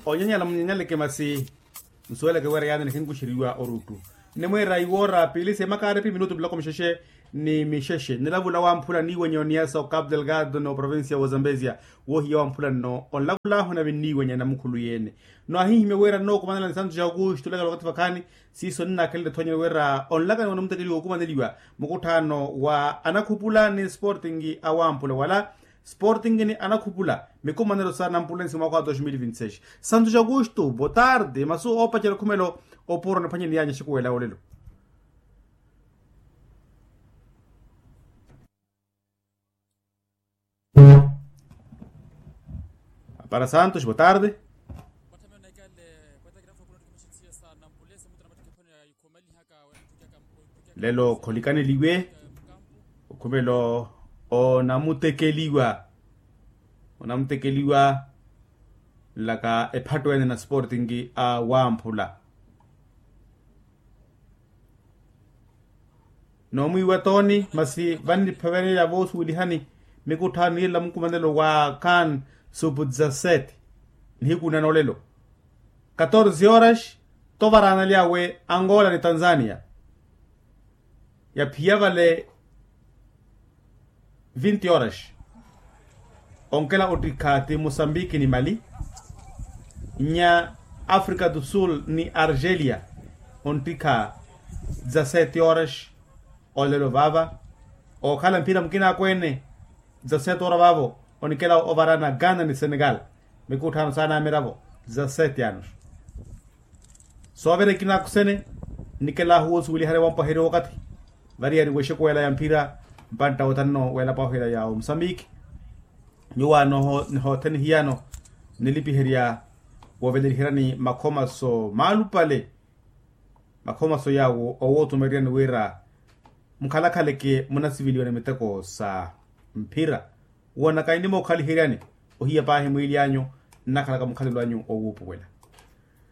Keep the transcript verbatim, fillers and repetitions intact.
Onyanyala munyanyaleke masi nsuweleke wira yaani nikhinkuxeriwa oruttu. Nimwiira iwoora piili semakaarepi minutu miloko mixexe ni mixexe nilavula wamphula niiwenye oniyasa okapu delgado n'oprovincia wozambezia. Woohiya wamphula nno onlakulaahu nave nniiwenye namukhulu yeene. Nwaahihimya wira nnookumanela nisantu ja okuxitulekela okathi vakhaani. Siiso nnaakhelele thonyeni wira onlakani wa namutekeliwa okumaneliwa mukutthaano wa anakhupula ni sporting awamphula wala sporting ni anakhupula mikumanelo sa nampulensi mwaakha wa dos mil vinti seis. Santu ja okuxtu botarde masu oopacerya okhumelo. Opuro niphwanye niyaanya xikuwela olelo. Para santos botarde. Lelo kholikaneliwe okhumelo onamutekeliwa onamutekeliwa nlaka ephatto ene na sporting awamphula. Noomwiiwa tooni masi vannipheveneya voosuwelihani mikutthaano niirela mukumanelo wa khan supu dezasete. Nihiku nanoolelo katorze horas tovaraanalyawe angola ni tanzania. Yaphiya vale vinti horas onkela ottikha ti mosambiki ni mali. Nya africa do sul ni argelia onttikha dezasete horas. Olelo vaava ookhala mphira mukina akweene dezasete horas vaavo onikela ovaraana ghana ni senegal. Mikutthaano saana amiravo dezasete anos. Soovira ekina akusene nnikelaahu woosuweliherya wampwaherya wakathi variyari wexekuwela ya mphira mpantta wothanu weelapwahu ela ya omusambiki. Nyuwaano nihothene hiyano nilipiherya wooveleliheryani makhomaso maalupale. Makhomaso yaawo owootumeryani wira mukhalakhaleke munasiveliwa ni miteko sa mphira. Woonaka ennimookhaliheryani ohiya paahi mwiili anyu nnakhalaka mukhalelo anyu owuupuwela.